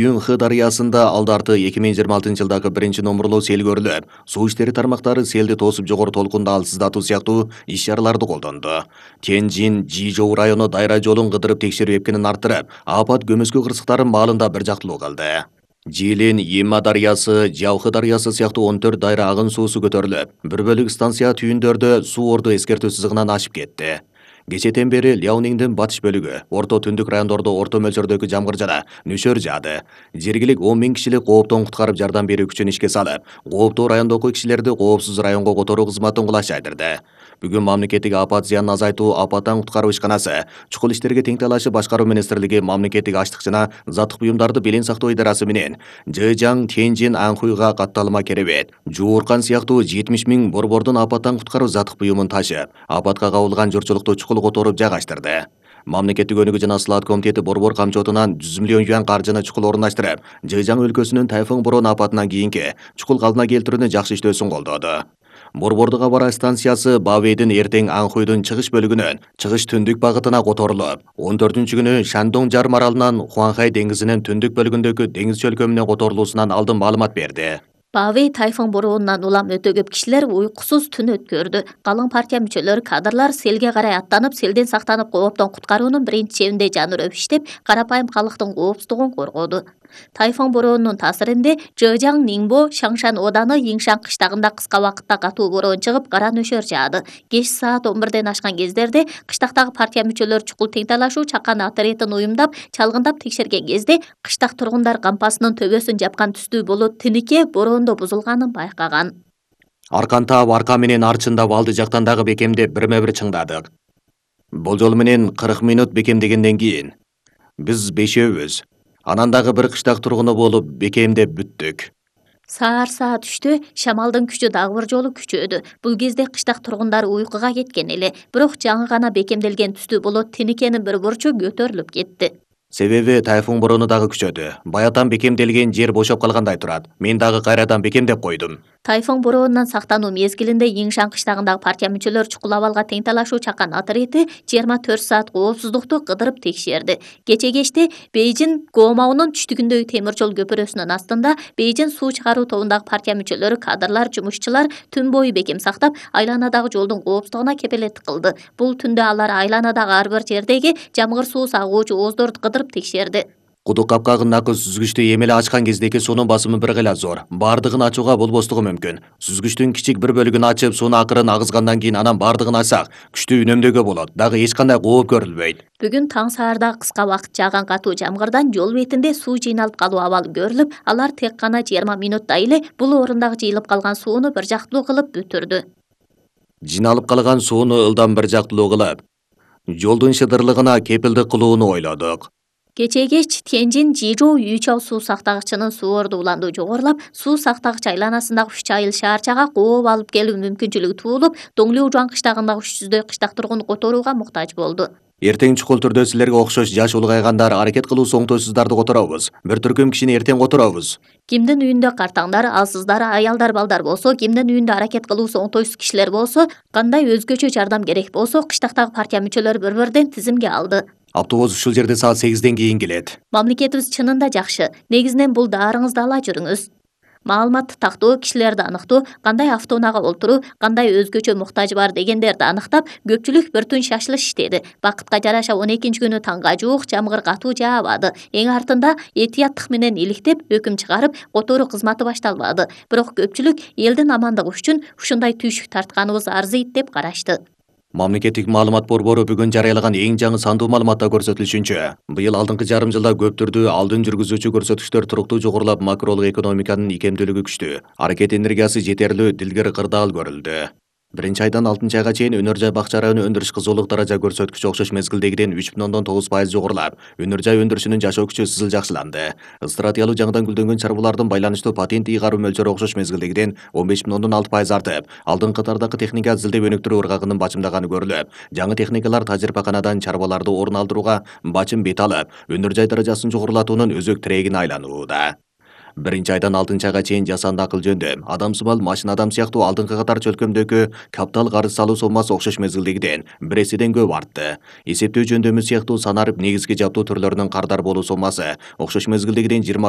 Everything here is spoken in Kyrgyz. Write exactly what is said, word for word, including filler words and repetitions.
Үн-Хы дарыясында алдарты эки миң жыйырма алтынчы жылдагы биринчи номурлуу сел көрүлүп, суу иштери тармактары селди тосуп жогору толкунду алсыздатуу сыяктуу иш-чараларды колдонду. Тяньжин, Жижоу району дайра жолун кыдырып текшерүү эпкинин арттырып, апат көмөскө кырсыктарын маалында бир жактылуу кылды. Жилин, Йима дарыясы, Жаухы дарыясы сыяктуу он төрт дайра агын суусу көтөрүлүп, бір бөлүк станция түйүндөрдө суу орду эскертүү сызыгынан ашып кетти. Кечэтен бери Ляониңдин батыш бөлүгү, орто түндүк райондордо орто мөлчөрдөгү жамгыр жана нөшөр жаады. Жергилик он миң кишилик кооптон куткарып жардам берүү күчүн ишке салып, кооптуу райондогу кишилерди коопсуз районго которуу кызматын кулаш жайдырды. Бүгүн мамлекеттик апат зыянын азайтуу апаттан куткаруу ишканасы, чукул иштерге тең талашып башкаруу министрлиги мамлекеттик ачлык жана заттык буюмдарды белең сактоо идарасы менен Жэжаң, Тяньжин, Анхуйга катталма керебет, Жууркан сыяктуу жетимиш миң борбордун апаттан куткаруу заттык буюмун ташып, апатка кабылган журтчулукту чукул которуп жайгаштырды. Мамлекеттик өнүгүү жана сылаат комитети борбор камчотунан жүз миллион юань каржыны чукул орундаштырып, Жэжаң өлкөсүнүн тайфун борон апатынан кийинки чукул калдына келтирүүнү жакшы иштөөсүн колдоду. Борбордук аба ырайы станциясы Бавэйдин эртең Анхуйдун чыгыш бөлүгүнөн чыгыш түндүк багытына которулуп, он төртүнчү күнү Шандong жарым аралынан Хуанхай деңизинин түндүк бөлүгүндөгү деңиз чөлкөмүнө которулуусунан алдын маалымат берди. Бавэй тайфун бороонунан улам өтө көп кишилер уйкусуз түн өткөрдү. Калың партия мүчөлөрү, кадрлар селге карай аттанып, селден сактанып кооптон куткаруунун биринчи чебинде жанырып иштеп, карапайым калктын коопсуздугун коргоду. Тайфун бороонунун таасиринде Жэжаң, Ниңбо, Шаңшан оданы Йиңшан кыштагында кыска убакытта катуу бороон чыгып, кара нөшөр жаады. Кеч саат он бирден ашкан кездерде кыштактагы партия мүчөлөрү чукул тең талашуу чакан отрядын уюмдап, чалгындап текшерген кезде кыштак тургундар кампасынын төбөсүн жапкан түстүү болот тинике бороондо бузулганын байкаган. Аркан таап арка менен арчындап алды жактан дагы бекемдеп бирме-бир чыңдадык. Болжол менен кырк мүнөт бекемдегенден кийин биз бешөөбүз. Анан дагы бир кыштак тургуну болуп бекемдеп бүттүк. Саар саат үчтө шамалдын күчү дагы бир жолу күчөдү. Бул кезде кыштак тургундар уйкуга кеткен эле, бирок жаңы гана бекемделген түстүү болот тиникенин бир бурчу көтөрүлүп кетти. Себеби тайфун бороону дагы күчөдү. Баятан бекемделген жер бошоп калгандай турат. Мен дагы кайрадан бекемдеп койдум. Тайфун бороонунан сактануу мезгилинде Йиңшан кыштагындагы партия мүчөлөрү чукул абалга тең талашуу чакан отряды жыйырма төрт саат коопсуздукту кыдырып текшерди. Кече кечте Бейжин Гоомаунун түштүгүндөгү темир жол көпүрөсүнүн астында Бейжин суу чыгаруу тобундагы партия мүчөлөрү, кадрлар, жумушчулар түн бою бекем сактап, айланадагы жолдун коопсуздугуна кепилеттик кылды. Бул түндө алар айланадагы ар бир жердеги жамгыр суу сагуучу ооздорду кыдырып текшерди. Кудук капкагындагы сүзгүчтү эмеле ачкан кездеки суунун басымы бир гыйла зор. Бардыгын ачууга болбостугу мүмкүн. Сүзгүчтүн кичик бир бөлүгүн ачып, сууну акырын агызгандан кийин анан бардыгын ачсак, күчтүү үнөмдөөгө болот. Дагы эч кандай кооп көрүлбөйт. Бүгүн таң саарда кыска убакыт жааган катуу жамгырдан жол бетинде суу жыйналып калуу абалы көрүлүп, алар тек гана жыйырма мүнөттө эле бул орундагы жыйылып калган сууну бир жактылуу кылып бүтүрдү. Жиналып калган сууну ылдам бир жактылуу кылып, жолдун шыдырлыгына кепилдик кылууну ойлодук. Кечээ кеч Тяньжин Жижоу Юйчао суу сактагычынын суу орду уланду жогорулап, суу сактагыч айланасындагы үч айыл шаарчага кооп алып келүү мүмкүнчүлүгү туулуп, Доңлюжуан кыштагындагы үч жүздөй кыштак тургун которууга муктаж болду. Эртең чукул түрдө силерге окшош жаш улгайгандар аракет кылуусу оңтойсуздарды которобуз. Бир түркүм кишини эртең которобуз. Кимдин үйүндө картаңдар, алсыздар, аялдар, балдар болсо, кимдин үйүндө аракет кылуусу оңтойсуз кишилер болсо, кандай өзгөчө жардам керек болсо, кыштактагы партия мүчөлөрү бір-бірден тизимге алды. Автобус ушул жерде саат сегизден кийин келет. Мамлекетибиз чынында жакшы. Негизинен бул даарыңызды ала жүрүңүз. Маалыматты тактоо, кишилерди аныктоо, кандай автоунаага олтуруу, кандай өзгөчө муктажы бар дегендерди аныктап, көпчүлүк бир түн шашылыш иштеди. Бакытка жараша он экинчи күнү таңга жуук жамгыр катуу жаабады. Эң артында этияттык менен иликтеп, өкүм чыгарып, которуу кызматы башталбады. Бирок көпчүлүк элдин амандыгы үчүн ушундай түйшүк тартканыбыз арзыйт деп карашты. Мамлекеттик маалымат борбору бүгүн жарыялаган эң жаңы сандуу маалыматта көрсөтүлүшүнчө, быйыл алдыңкы жарым жылда көп түрдүү алдын жүргүзүүчү көрсөтүктөр туруктуу жогорулап, макролук экономиканын икемдүүлүгү күчтүү, аракет энергиясы жетерлүү, дилгер кырдаал көрүлдү. Биринчи айдан алтынчы айга чейин өнөр жай бакча району өндүрүш кызуулук даража көрсөткүчү окшош мезгилдегиден үч бүтүн ондон тогуз пайыз жогорулап, өнөр жай өндүрүшүнүн жашоо күчү сызыл жакшыланды. Стратиялуу жаңыдан гүлдөнгөн чарбалардын байланыштуу патент ыйгаруу мөлчөрү окшош мезгилдегиден он беш бүтүн ондон алты пайыз артып, алдыңкы катардагы техника зилдеп өнүктүрүү ыргагынын бачымдаганы көрүлүп, жаңы техникалар тажрыйбаканадан чарбаларды орун алдырууга бачым бет алып, өнөр жай даражасын жогорулатуунун өзөк тирегине айланууда. Биринчи айдан алтынчы айга чейин жасанды акыл жөндөм, адамсымал машина адам сыяктуу алдыңкы катар чөлкөмдөгү каптал карыз салуу соммасы окшош мезгилдегиден бир эседен көп артты. Эсептөө жөндөмү сыяктуу санарып негизги жабдуу түрлөрүнүн кардар болуу соммасы окшош мезгилдегиден жыйырма үч